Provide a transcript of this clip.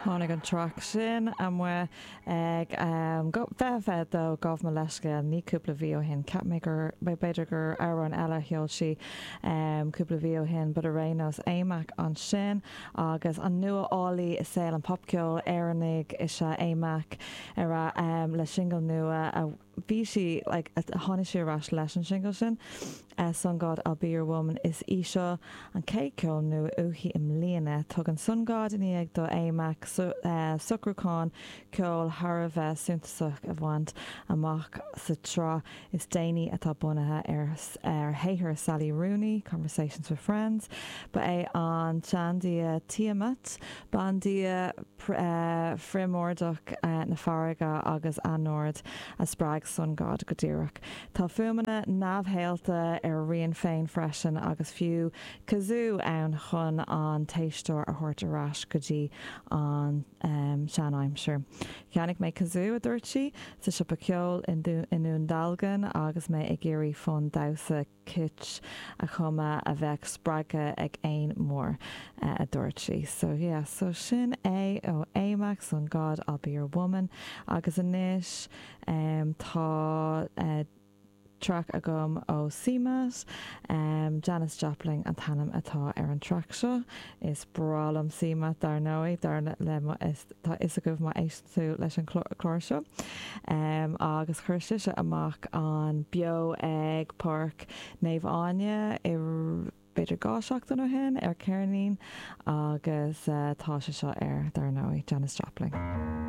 Tháinig an traic sin amuigh ag 2022, gabh mo leithscéal, ní cúpla mhí ó shin. Cheap mé gur, b'fhéidir gur amhrán eile a sheol sí cúpla mhí ó shin, but ar aon nós, A-Mac ansin agus an nuálaí i saol an popcheoil Éireannaigh is ea A-Mac ar a le singil nua a bhí sí like tháinig sí ar ais leis an singil sin Sun God I'll Be Your Woman is í seo an chéad ceol nua uaithi i mbliana. Tugann Sun God i ndiaidh do A-Mac socrúchán ceoil thar a bheith suntasach a bhaint amach sa tsraith is déanaí atá bunaithe ar ar shaothar Sally Rooney, Conversations with Friends. Ba é an tseandia Tiamat, bandia phríomórdeach na farraige agus anord a spreag Sun God go díreach. Tá fuaimeanna neamhshaolta ar a rian féin freisin agus fiú kazoo ann chun an t-éisteoir a thabhairt ar ais go dtí an seanaimsir. Cheannaigh mé kazoo, a dúirt sí, sa siopa ceoil i nDún Dealgan agus mé ag iarraidh fonn damhsa kitsch a chumadh a bheadh spreagtha ag éan mór, a dúirt sí. So yeah, so sin é ó A-Mac, Sun God, I'll Be Your Woman. Agus anois tá traic agam ó CMAT, Janis Joplin an t-ainm atá ar an traic seo. Is breá liom CMAT dar ndóigh, dar le mo, tá fhios agaibh má éisteann tú leis an chlár seo. Agus chuir sise amach an Beo ag Páirc Naomh Áine i b'fhéidir 2 seachtain ó shin ar ceirnín agus tá sé seo ar, dar ndóigh, Janis Joplin.